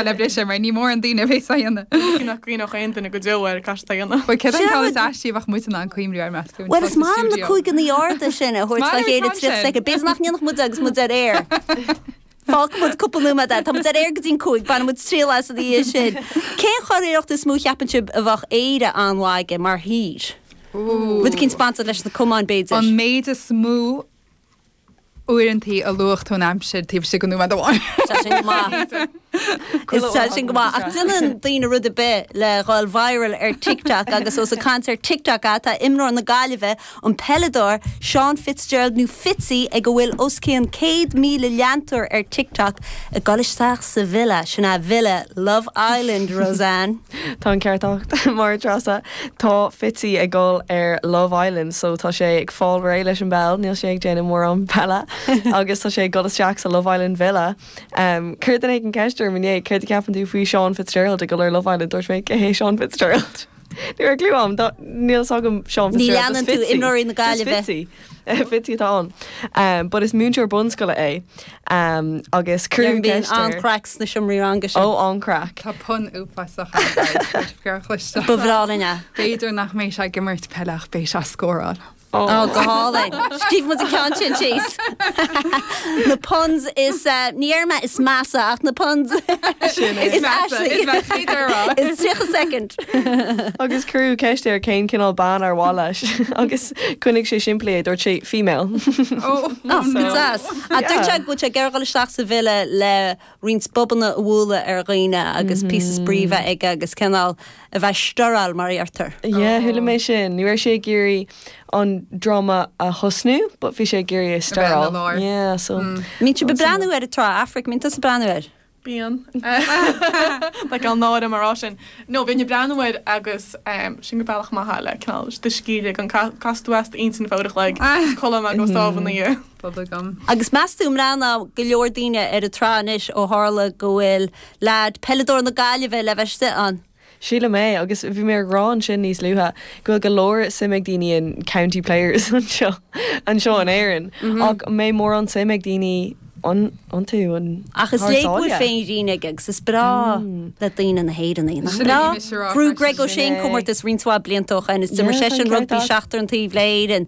Le briseadh mar ní mórán daoine a bhéas á dhéanamh. Ní nach gcuimhneodh aon duine go deo air cad atá a dhéanamh. Bhuel, céard an ceann is aistí a bheadh muid in ann cuimhniú air, meas tú? Bhuel, is maith liom na cúigeanna arda sin a thabhairt dá chéile 30 soicind. B'fhéidir nach ndéanfadh muid é agus muid ar aer. Fágfaidh muid cúpla nóiméad é. Tá muid ar aer go dtí'n 5, bainfidh muid triail as ina dhiaidh sin. Cén churiarracht is mó a cheapann sibh a bheadh Éire an-lag aige mar thír? Rud eicínt bainteach leis na camáin, b'fhéidir. An méid is mó uaireantaí a luaigh tú an aimsir taobh istigh de nóiméad amháin. Tá sin go maith. Tá sin go maith. Ach déanann daoine rud ar bith le dhul viral ar TikTok agus ós ag caint ar TikTok atá imreoir na Gaillimhe, an peileadóir Seán Fitzgerald nó Fitzy ag a bhfuil os cionn 100,000 leantóir ar TikTok ag dul isteach sa villa, sin é villa Love Island, Rosanne. Tá an ceart agat, Máire Treasa. Tá Fitzy ag dul ar Love Island so tá sé ag fáil réidh leis an bpeil, níl sé ag déanamh mórán peile agus tá sé ag dul isteach sa Love Island Villa. Chuir duine éigin ceist orm inné, céard a cheapann tú faoi Sean Fitzgerald ag dul ar Love Island? Dúirt mé, cé hé Sean Fitzgerald? Ní raibh clue agam, níl fhios agam Sean Ní Fitzgerald, leanann just tú Fitzy. imreoirí na Just Gaillimhe. Fitzy. Fitzy atá ann. But is múinteoir bunscoile é agus cuireadh Bíonn ceist air. an-chraic sna seomraí ranga sin. Ó, an-chraic. Tá pun uafásach ann, guys, tá sibh ag cloisteáil. Ba bhreá linn é. B'fhéidir nach mbeidh sé ag imirt peile ach beidh sé ag scóráil. Ó, go hálainn. Scríobh muid an ceann sin síos. Na puns is, ní déarfaidh mé is measa ach na puns Sin é. is Measa, aistí. is measa, féidir a rá. Is 30 soicind. Agus cuireadh ceist air cén cineál bean ar mhaith leis agus choinnigh sé simplí é, dúirt sé female. Ó, Ó, go deas. Ach dúirt sé go bhfuil sé ag iarraidh dul isteach sa villa le roinnt bobanna a bhualadh ar dhaoine agus píosa spraoi a bheith aige agus cineál a bheith stirráil mar a deirtear. Yeah, chuala mé sin. Ní raibh sé ag iarraidh an dráma a thosnú but bhí sé ag iarraidh é A bheith ina stirráil. lár. Yeah, so. Mbíonn sibh ag breathnú ar an tsraith Aifric, mbíonn tusa ag breathnú air? Bíonn. Like an náire mar rá sin. No, bhínn ag breathnú air agus sin go bealach maith é le cineál do scíth a ligean. Cas tú as d'intinn ar feadh uair a chloig is codlaim agus sámh ina dhiaidh. Bubblegum. Agus meas tú an mbreathnóidh go leor daoine ar an tsraith anois ó tharla go bhfuil leaid, peileadóir na Gaillimhe le bheith istigh ann? Sílim é, agus bhí mé ag rá ansin níos luaithe go bhfuil go leor suim ag daoine in county players anseo, anseo in Éirinn, ach an mbeidh mórán suim ag daoine iontu an Ach is thar léir go bhfuil sáile? féinmhuinín aige agus is breá le daoine na hÉireannaigh, nach Sin é, breá? bhí mise a rá Bhuaigh freisin. Greg O'Shea Sin an é. comórtas roinnt mhaith blianta ó shoin is d'imir Yeah, tá an seisean ceart rugbaí agat. seachtar an taobh le hÉirinn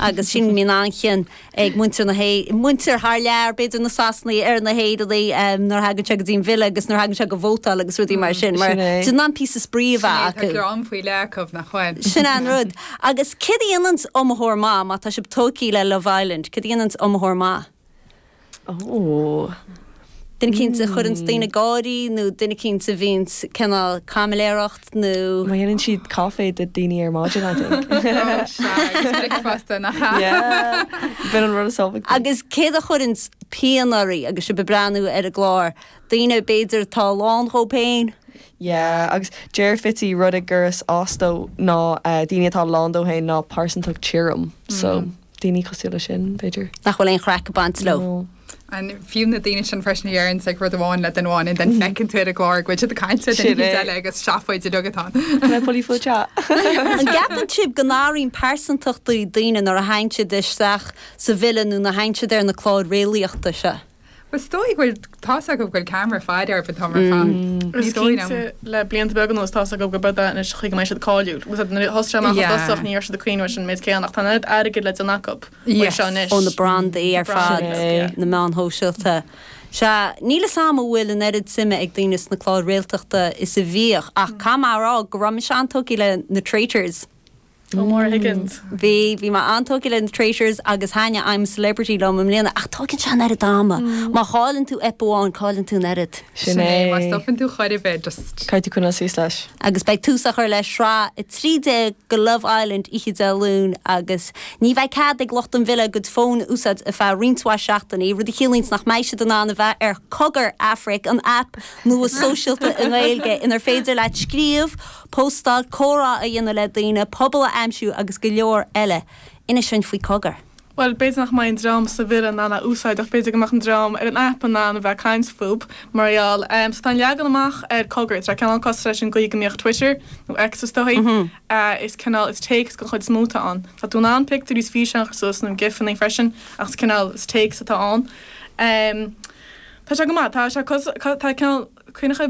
agus sin mbíonn an-chion ag muintir na hÉ, muintir thar lear, b'fhéidir na Sasanaigh ar na hÉireannaigh nuair a thagann sé go dtí an villa agus nuair a thagann sé go vótáil agus rudaí mar sin, mar Sin é. déanann píosa spraoi a Sin é, bheith tá acu. greann faoi leith acu, nach bhfuil? Sin é an rud. Agus céard a dhéananns iomaitheoir maith, má tá sibh tógtha le Love Island, céard a dhéananns iomaitheoir maith? Ó. Duine eicínt a chuireanns daoine ag gáirí nó duine eicínt a bhíonns cineál caimiléireacht nó. Má dhéanann siad caife do daoine ar maidin, I think. Ó, sea, agus bricfeasta, nach ea? Yeah. B'in an rud is tábhachtaí. Agus céard a chuireanns pian oraibh agus sibh ag breathnú ar an gclár? Daoine, b'fhéidir, atá lán dhóibh féin? Yeah, agus deir Fitzy rud a gcuireas as dó ná daoine atá lán dóibh féin ná pearsantacht tirim. So. daoine cosúil leis sin, b'fhéidir. Nach bhfuil aon chraic ag baint leo. No. And fiú na daoine sin freisin a dheireanns like rud amháin le duine amháin and then feiceann tú ar an gclár go bhfuil siad ag caint le duine Sin é. eile agus seafóid uilig atá ann. Can I pull you for a chat? An gceapann sibh go n-athraíonn pearsantachtaí daoine nuair a thagann siad isteach sa villa nó nuair a thagann siad ar na cláir réalaíochta seo? Bhuel is dóigh go bhfuil, tá's acu go bhfuil ceamara faire orthu an t-am ar fad. Ní Is dóigh liom. cinnte le blianta beaga anuas tá's acu gurb é anois an chaoi go mbeidh siad cáiliúil. Agus nuair a thosaigh sé amach i Yeah. dtosach ní raibh siad ag cuimhneamh ar sin an méid céanna ach tá an oiread airgid le déanamh acu faoi Yes. seo anois. Ó na brandaí ar fad, Sin é. na meáin shóisialta. Sea, níl 'fhios a'm an bhfuil an oiread suime ag daoine sna cláir réaltachta is a bhíodh ach caithfidh mé a rá go raibh mise an-tógtha le na Traitors. Ó Máire Higgins. Bhí, bhí mé an-tógtha le na Traitors agus thaitnigh I'm a Celebrity liom i mbliana ach tógann sé an oiread ama. Má chailleann tú ep amháin, cailleann tú an oiread. Sin é. Má stopann tú chor ar bith, just. Caithfidh tú coinneáil suas leis. Agus beidh tús á chur le sraith 13 de Love Island oíche Dé Luain agus ní bheidh cead ag lucht an villa a gcuid fóin a úsáid ar feadh roinnt mhaith seachtainí, rud a chiallaíonns nach mbeidh siad in ann a bheith ar Cogar Aifric, an aip nua sóisialta i nGaeilge inar féidir leat scríobh, Postáil, comhrá a dhéanamh le daoine, pobal a aimsiú agus go leor eile. Inis dúinn faoi Cogar. Bhuel, b'fhéidir nach mbeidh an dream sa villa in ann é a úsáid ach b'fhéidir go mbeadh an dream ar an aip in ann a bheith ag caint fúb, mar gheall. So tá an leagan amach ar Cogar, tá sé cineál cosúil leis an gcaoi go mbíodh Twitter, nó X is dóigh, is cineál, is téacs den chuid is mó atá ann. Tá tú in ann pictiúirí is físeáin a chur suas nó GIFeanna freisin ach is cineál, is téacs atá ann. Tá sé go maith, tá sé, tá cineál. Cuimhneach?